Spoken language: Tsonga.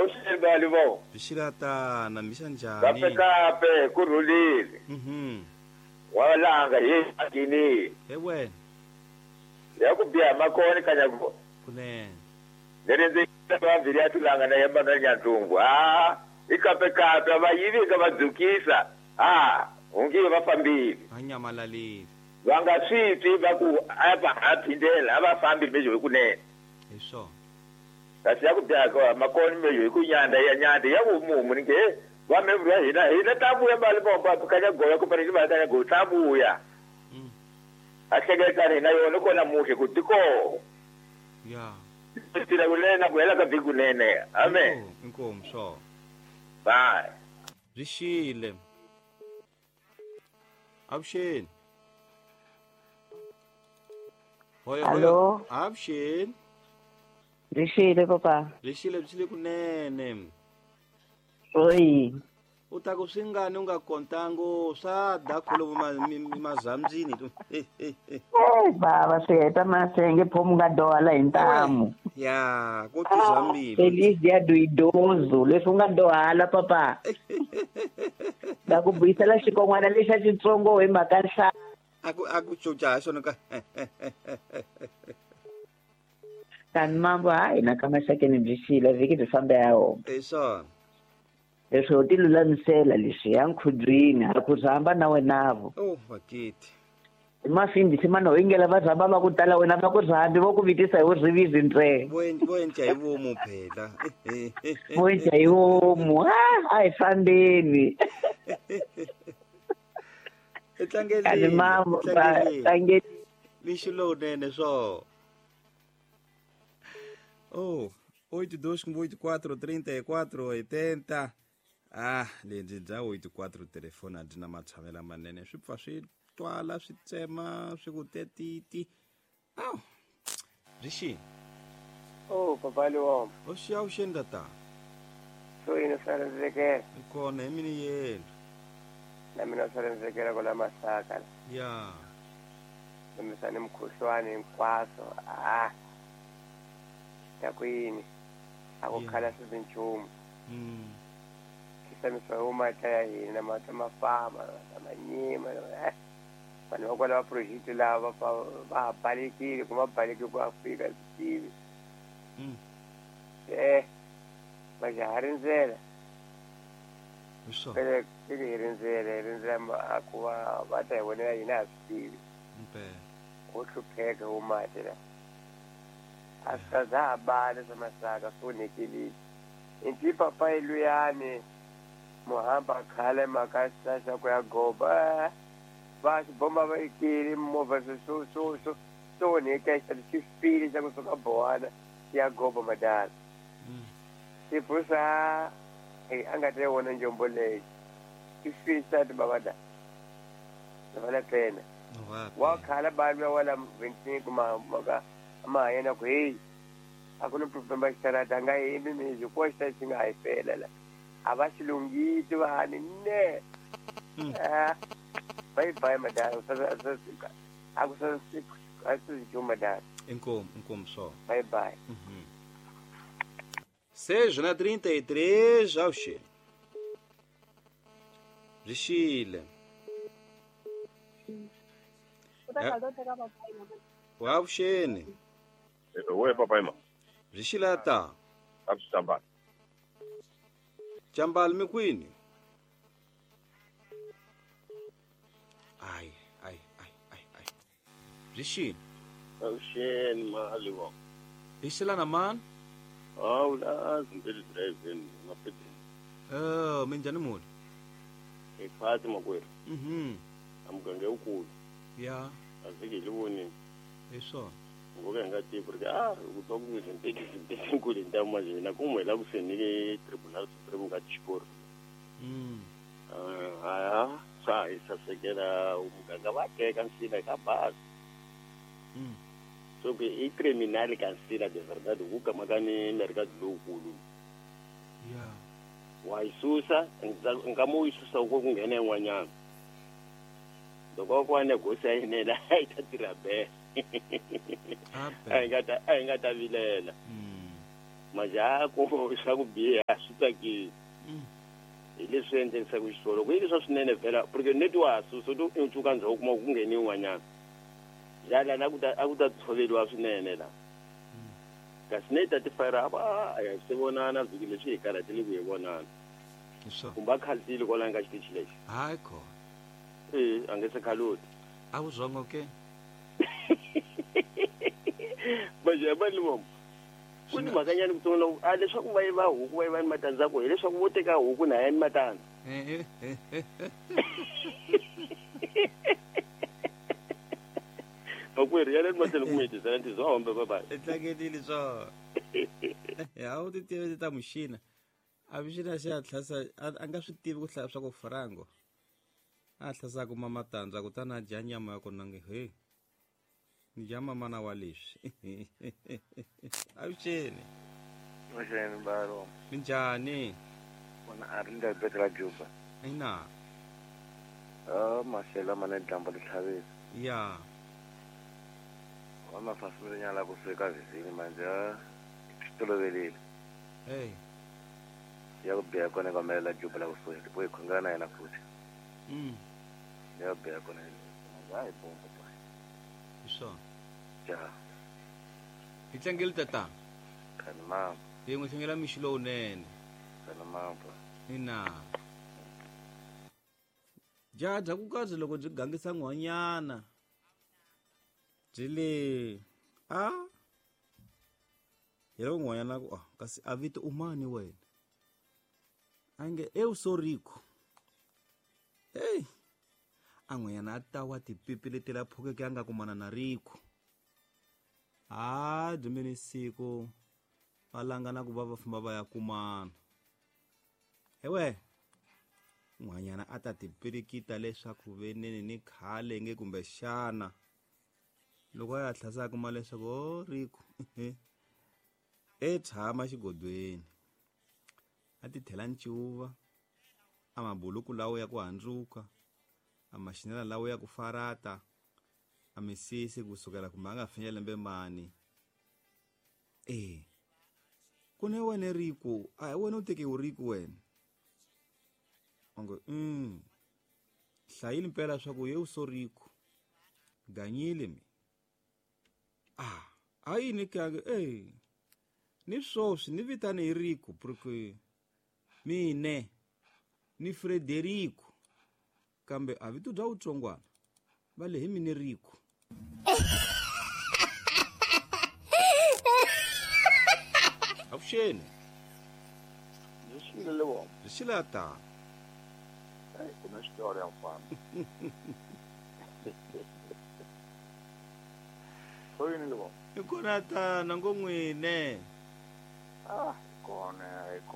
Awuxeni bali vo. Byi misa njhani? Kape kape ku rhulile. Wa langa hi akini. He wena. Ya ku biha makoni kanya ku. Kunene. Leri ndzi va vhiri ya tulanga na yemba na nyantungu. Ah, i kape kape va yivi ka va dzukisa. Ah, ungi va fambile. Va nyamalalile. Va nga swi twi va ku a va ha phindela a va fambi mejo hi kunene. Hi swona. Kasi ya ku biha ka makoni mejo hi ku nyanda ya nyanda ya ku mumu ni ke va me vula hina hina ta vuya mali bomba kanya goya ku fanele va kanya go ta vuya. A hleketani hina yona kona muhle ku tiko. Ya. Tira kunene ku hela ka vhiki kunene. Amen. Inkomu swo. Bye. Byi xile. Avuxeni. Hoyo hoyo. Hello. Avuxeni. Byi xile papa. Byi xile byi xile kunene. Oyi. U ta ku swi ngani u nga kontango swa da kholomo mazambyini. Bava swi heta masenge phomu nga dohala hi ntamu. Ya, ku tuzambili. Feliz dia do idoso, leswi u nga dohala papa. Da ku buyisela xikon'wana lexa xitsongo hi mhaka nhlaya. A ku cuca ha xona ka. Tani mambo hayi na ka maxakeni byi xile vhiki byi fambe ya wona. Hi swona. Leswi ho ti lulamisela leswi ya nkhubyini ha ku rhamba na wenavo. Oh, vakiti. Mafindisi mana ho ingela va rhamba va ku tala wena va ku rhambi vo ku vitisa hi vurivizi ntsena. Vo endla hi vomu phela. Vo endla hi vomu. A hi fambeni. Tlangeleni. Mambo tlangeli. Mixo lowunene swo. Oh, 82 84 34 80. Ah, lebyi bya 84 telefoni a byi na matshamelo manene swi pfa swi twala swi tsema swi ku tetiti. Aw. Byi xini? Oh, papa Liwom. O xiya uxeni tata. So yini swa rindzekela? Hi kona hi mini yenu. Na mina swa rindzekela kwala Masaka. Ya. Lombisani mukhuhlwani hinkwaswo. Ah. Ta ku yini? A ku khala swi nchumu. Khisamisa hi mata ya hina mata mafama mata manyima. Vanhu va kwala va project lava va balekile ku va baleke ku Afrika swi tivi. Va ha rindzela. Pele hi rindzela ku va va ta hi vonela hina a swi tivi. Ku hlupheka wu mati la. A swi za ha bala swa Masaka swi onhekelile. Inti papa luyani muhamba khale mhaka xa ku ya goba. Va xibomba va yikile movha swo swo swo swo onheka xi file xa kusuka Bowana ya goba madala. Xibusa a nga ta wona njombo leyi. Xi file xa ti baba da. Va la pena. Wa khala balwa wala 25 maka ma yena ku hey a ku na problem xarata nga yimi mi ko xa xi nga hi fela la. A va xi lunghisi vanhu ne. Bye bye madam. A ku sa a swi madam. Inkomu só. Bye bye. 6:33 avuxeni. Byi xile. Wa avuxeni. We papa ima. Byi xile ta. A swi chambali. Chambali mi kwini? Ai ai ai ai ai. Byi xile. Avuxeni mali wa. Byi xile na mani? Hawu la Zimbeli driving mapedeni. Minjhani muni? Hi khwatsi makwerhu. Amugange wukulu. Ya. A vhiki hi li vonini. Hi swona. Ngo ka hi nga tivi ku ri a ku twa ku Zimbeli nkulu hi ntamu manje hina ku hi la ku senile Tribunal Supreme ka Xikoro. Haya swa hi sasekela muganga va teka nsila ka bazi. So que i criminal ka nsila de verdade ku kamaka ni mercado lowukulu. Ya. Wa yi susa nkama u yi susa ku nghena yin'wanyana. Loko ku va negosia yinene a yi ta tirha be. A hi nga ta vilela. Majaha ku swa ku biha swi tsakisi. Hi leswi endlekisaka xiswona loko yi ri swa swinene vhela porque neti wa ha susa u to cuka ndzhaku kuma ku ngheni yin'wanyana jala a ku ta a ku ta tshoveriwa swinene la kasi ne ta tifayira va a ya se vonana vhiki leswi hi karhatile ku hi vonana kumbe a khalutile kwalani ka xitichi lexi hayi khona e a nge se khaluti a wu zwongo ke majaha mali vomo ku ni mhakanyana ku tsonga a leswaku va yiva huku va yiva ni matandza ku hileswaku vo teka huku na ya ni matandza makwerhu ya le matlhelo ku mi hetisela ntizo wa hombe babayi i tlangelile swona a wu ti tivi ta muxina a muxina xi a tlhasa a nga swi tivi ku hlaya swa ku frango a tlhasa kuma matandza kutani a dya nyama ya kona nge he ni dya mamana wa leswi avuxeni Avuxeni balo. Minjhani? Vona a ri ndlela bete la Juba. Ina. Ah, maxelo ma ne dyambu li tlhavisa. Ya. Wa mafasile nyala kusuhi ka vhizini manje swi tolovelile. Hey. Ya ku biha kona ka melela Juba la kusuhi bo hi khongela na yena futhi. Ya ku biha kona manje a hi bombo pa. Hi swona. Ja. Hi tlangeli tatana. Khani mama. Hi n'wi tlangela mixo lowunene. Khani mama. Ina. Jaha bya ku kazi loko byi gangisa n'hwanyana byi le a hi loko n'hwanyana ku ah kasi a vito u mani wena a nge eu sou rico hey a n'hwanyana a ta wa tipipi leti la phukeke a nga kumana na rico ha byi mini siku va langana ku va va famba va ya kumana ewe n'hwanyana a ta tipirikita leswaku veneni ni khale nge kumbexana loko a ya tlhasa a kuma leswaku o rico e tshama xigodweni a ti thela ncuva a mabuluku lawo ya ku handzuka a maxinela lawo ya ku farata a misisi kusukela kumbe a nga finya lembe mani e ku ne wena rico a hi wena u tekiwe rico wena onge hlayile mpela swa ku ye so rico ganyile mi ah a yini kange e ni swoswi ni vitane hi rico porque mine ni Frederico kambe a vito bya wutsongwana va le hi mine rico avuxeni Byi vona. Byi xile ta. Ai, ku na xitori ya mfana. Soyini le vona. Hi kona tana ngo n'wine. Ah, kona, hi kona.